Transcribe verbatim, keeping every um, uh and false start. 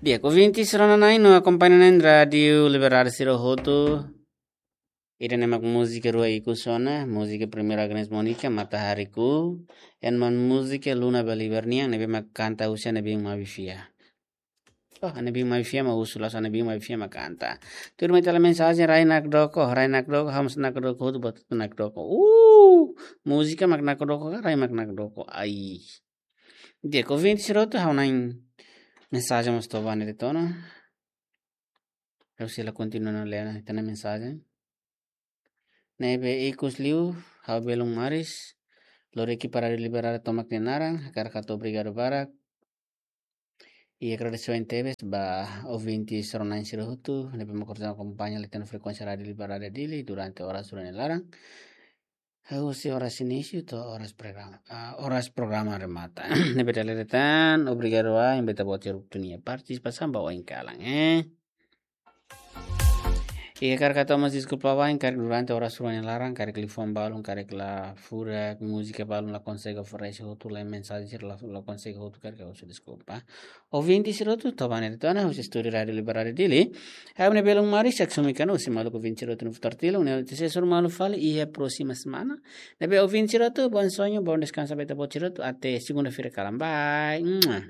Di'ak, ouvinte sira-nia na'in no akompaña na'in Rádiu Liberdade sira hotu. Ida-ne'e mak múzika rua ikus ona, múzika primeiru Agnes Monica, Matahariku, ema múzika Luna Beliver nian, ne'ebé mak kanta husi Ana Bim Mabi Fiar. Oh, Ana Bim Mabi Fiar mak husu, la'ós Ana Bim Mabi Fiar mak kanta. Tuirmai ita haree mensajen rai nakdoko, rai nakdoko, ha'u mós nakdoko, hotu buat nakdoko. Uh, múzika mak nakdoko, rai mak nakdoko. Ai. Di'ak, ouvinte sira hotu, ha'u-nia mensajen mós to'o ba ne'e de'it ona. Ha'u sei la kontinua lee ona ita-nia mensajen. Ne'ebé ikus liu, ha'u belun maris, lori ekipa Rádiu Liberdade tomak nia naran, hakarak hato'o obrigadu barak. I agradesimentu tebes ba ouvinte sira-nia na'in sira hotu, ne'ebé mak kontinua akompaña liután frekuénsia Rádiu Liberdade Dili durante oras rua nia laran. Husi oras inísiu to'o oras programa, ah, oras programa remata. Ne'ebé dala ida tan, obrigadu ba imi ita-boot sira hotu nia partisipasaun ba oin kalan, eh. I hakarak hato'o mós deskulpa ba imi karik durante oras rua nia laran, karik liafuan balun, karik la furak, múzika balun la konsege oferese hotu, la mensajen sira la, la konsege hotu, karik ha'u husu deskulpa. Ouvinte sira hotu, to'o ba ne'e de'it ona, husi estúdiu Rádiu Liberdade Dili. Ha'u-nia belun maris, Jackson Mekano, husi maluk ouvinte sira hotu no futar tilu, ne'e te sesur malu fali, iha próxima semana. Ne'ebé ouvinte sira hotu, bom sonho, bom descanso ba ita-boot sira hotu, até segunda-feira kalan. Bye. Mua.